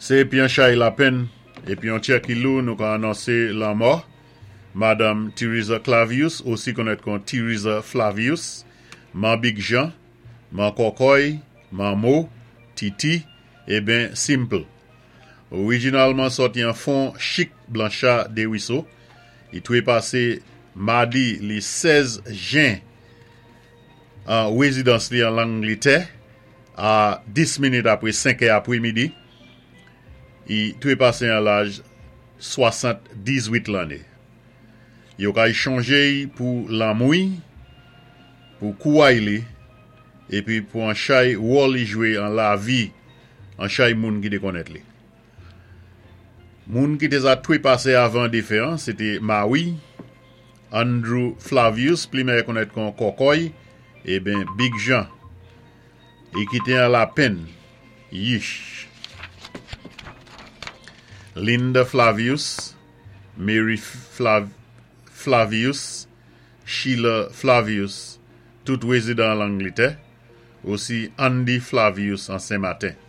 Sé épi an chay lapenn épi an tjè ki lou nou ka anonsé lanmò Madam Theresa Clavius, osi konnèt kon Theresa Flavius, Man Big Jean, Man Kòkòy, Manmo, Titi, eben Simple. Orijinalman sòti an Fon Chik Blancha Deriso, i twépasé madi li 16 jen an wézidans li an Langlitè a 10 minit apwé 5 è apwémidi. I twépasé an laj 78 lanné. Yo kay chonjé-y pou lanmou-y, pou kouway li, épi pou an chay wòl li jwé an lavi an chay moun ki té konnèt li. Moun ki té za twépasé avan défen an, sé té mawi Andrew Flavius, pli mèyè konnèt kon Kòkòy, eben Big Jean. I kité an lapenn, yich. Linda Flavius, Mary Flavius, Sheila Flavius, tout wézidan an Langlitè, osi Andy Flavius an Sen Maten.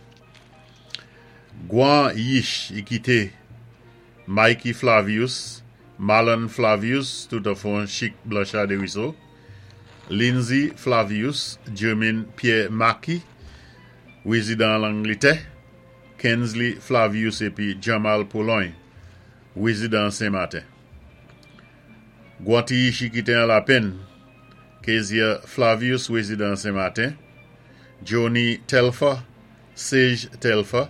Gwan yich i kité Mikey Flavius, Marlon Flavius, tout an Fon Chik Blanchard Desruisseaux, Lindsay Flavius, Jermaine Pierre Mackey, wézidan an Langlitè, Kensley Flavius épi Jamal Pologne, wézidan an Sen Maten. Gwan ti yich i kité an lapenn, Kezia Flavius, wézidan an Sen Maten, Johnny Telfer, Sage Telfer,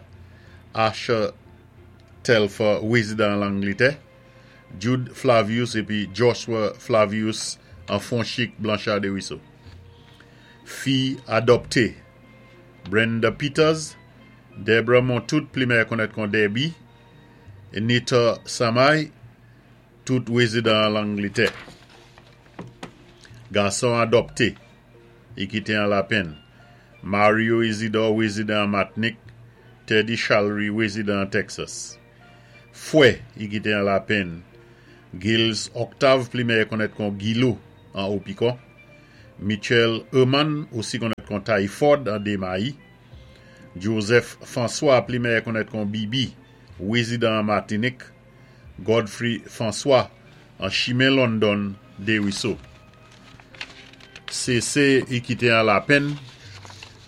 Asher Telfer, wézidan an Langlitè, Jude Flavius épi Joshua Flavius an Fon Chik Blanchard Desruisseaux. Fi adòpté, Brenda Peters, Debra Montout, pli mèyè konnèt kon Debbie, Nita Samay, tout wézidan an Langlitè. Gason adòpté, i kité an lapenn, Mario Isidore, wézidan an Matnik, Teddy Chalry, wézidan an Texas. Fwè, i kité an lapenn, Gilles Octave, pli mèyè konnèt kon Gilou an Opikon, Mitchell Herman, osi konnèt kon Tyford an Demayi, Joseph François, pli mèyè konnèt kon Bibi, wézidan an Matinik, Godfrey François an Chimen London Desruisseaux. CC i kité an lapenn,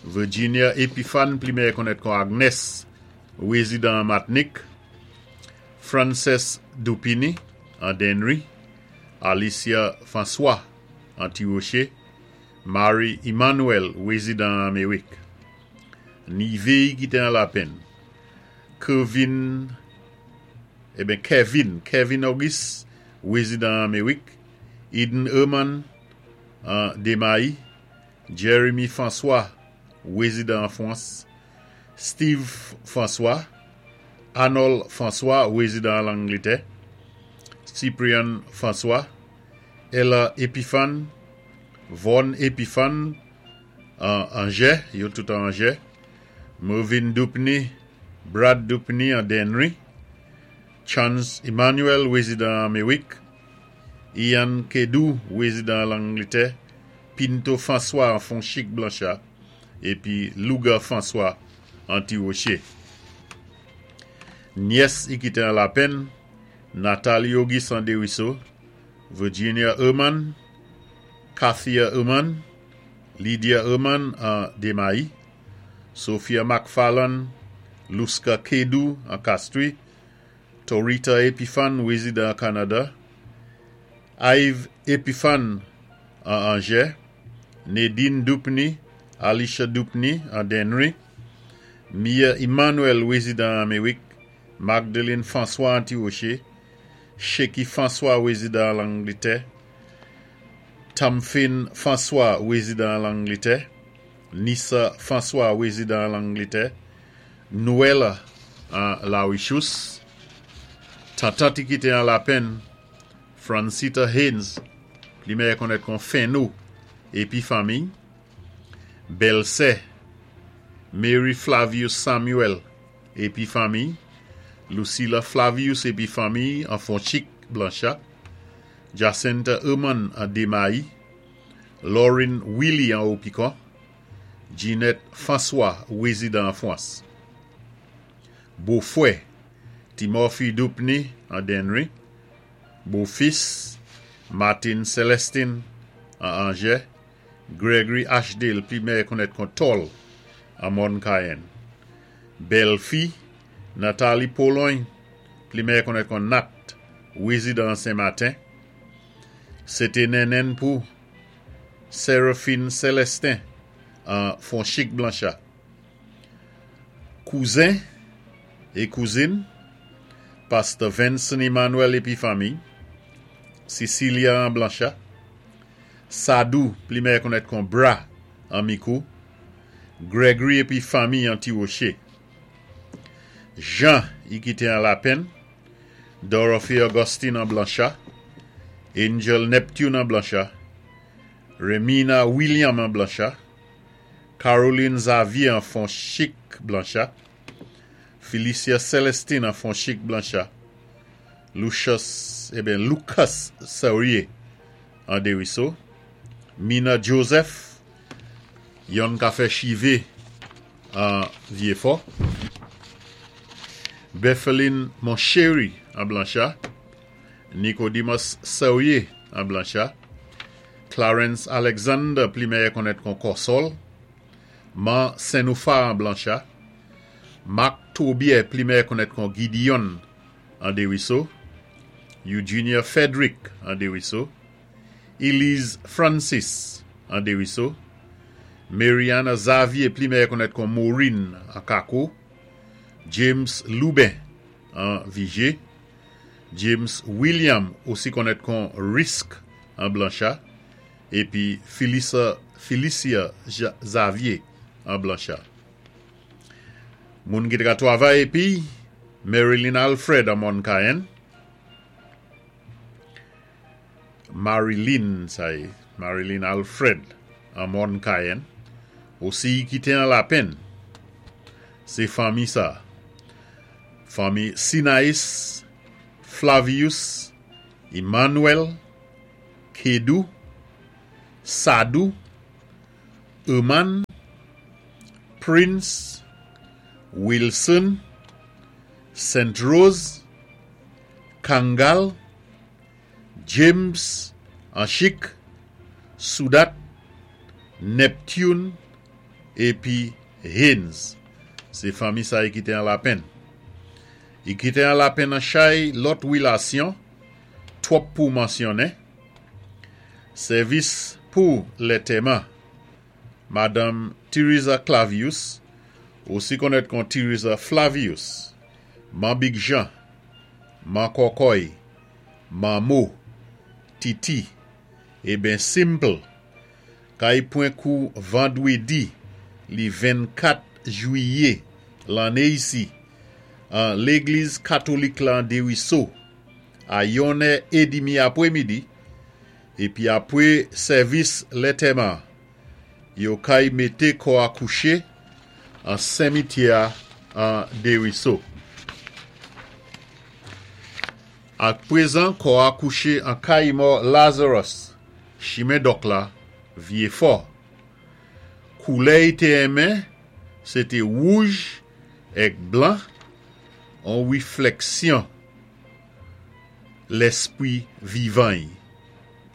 Virginia Epiphane, pli mèyè konnèt kon Agnes, wézidan an Matnik, Frances Dupini an Dennery, Alicia François an Ti Woché, Mary Emmanuel, wézidan an Amerik. Nivé i kité an lapenn, Kervin eben Kevin, Kevin Auguste, wézidan an Amerik, Eden Herman an Demayi, Jeremy François, wézidan an Fwans, Steve François, Arnold François, wézidan an Langlitè, Cyprian François, Ella Epiphane, Vaughn Epiphane an Angers, yo tout an Angers, Mervyn Dupny, Brad Dupny an Dennery, Chance Emmanuel, wézidan an Amerik, Ian Kedou, wézidan an Langlitè, Pinto François an Fon Chik Blancha, épi Louga François an Ti Woché. Nyès i kité an lapenn, Nathalie Auguste an Desruisseaux, Virginia Herman, Kathia Herman, Lydia Herman an Demayi, Sophia McFarlane, Luska Kedou an Castries, Torita Epiphane, wézidan an Kanada, Ive Epiphane an Angers, Nadine Dupny, Alicia Dupny an Dennery, Mia Emmanuel, wézidan an Amerik, Magdalene François an Ti Woché, Sheky François, wézidan an Langlitè, Tamfin François, wézidan an Langlitè, Nissa François, wézidan an Langlitè, Noël an Larichous, Tantant i kité an lapenn, Francita Haynes, pli mèyè konnèt kon Fenno épi fanmiy, Bèlsè Mary Flavius Samuel épi fanmiy, Lucilla Flavius épi fanmiy an Fonchik Blancha, Jacinta Herman an Demayi, Laurine Willy an Opikon, Ginette François, wézidan an Fwans. Bofwè Timothy Dupny an Dennery, bofis Martin Celestin an Angers, Gregory Ashdale pi mèyè konnèt kon Tol an Mòn Cayenne. Bèlfi Nathalie Pologne pli mèyè konnèt kon Nat, wézidan an Sen Maten. Sé té nennenn pou Séraphine Célestin an Fonchik Blancha. Kouzen é kouzin Pastè Venson Emmanuel épi fanmiy, Cecilia an Blancha, Sadou pli mèyè konnèt kon Bra an Mikou, Gregory épi fanmiy an Ti Woché. Jean i kité an Lapenn, Dorothy Augustine an Blancha, Angel Neptune an Blancha, Remina William an Blancha, Caroline Xavier an Fonchik Blancha, Felicia Celestine an Fonchik Blancha, Lucius, eben Lucas Saurier an Deriso, Mina Joseph, yonn ka fè chivé an Vyéfò, Bepheline Monchéry an Blancha, Nicodemus Saurier an Blancha, Clarence Alexander pli mèyè konnèt kon Kòsòl, Man Senoufa an Blancha, Marc Tobier pli mèyè konnèt kon Gideon an Deriso, Eugenia Frederick an Deriso, Elise Francis an Deriso, Mariana Xavier pli mèyè konnèt kon Maureen an Kako, James Lubin an Vigé, James William osi konnèt kon Risk an Blancha, épi Philissa Philicia Xavier an Blancha. Moun ki té ka twavay épi Marilyn Alfred an Mòn Cayenne, Marilyn sa yé, Marilyn Alfred an Mòn Cayenne, osi i kité an Lapenn. Sé fanmi sa. Fanmi Sinaïs, Flavius, Emmanuel, Kedou, Sadou, Herman, Prince, Wilson, Saint Rose, Kangal, James an Chik, Soudat, Neptune épi Haynes. Sé fanmi sa i kité an Lapenn. I kité an Lapenn an chay lòt wilasyon twòp pou mansyonnen. Sèvis pou lètèman Madanm Theresa Clavius, osi konnèt kon Theresa Flavius, Man Big Jean, Man Kòkòy, Manmo, Titi, eben Simple, kay pwen kou vandwédi li 24 jwiyé lanné isi an légliz katolik la an Deriso a yonnè édimi apwémidi épi apwé sèvis lètèman yo kay mété kò a kouché an senmityè a an Deriso. Ak pwézan kò a kouché an kay mò Lazarus chimen Dòk la Vyéfò. Koulè i té enmen sé té wouj èk blan, on wiflèksyon lèspwi vivan i.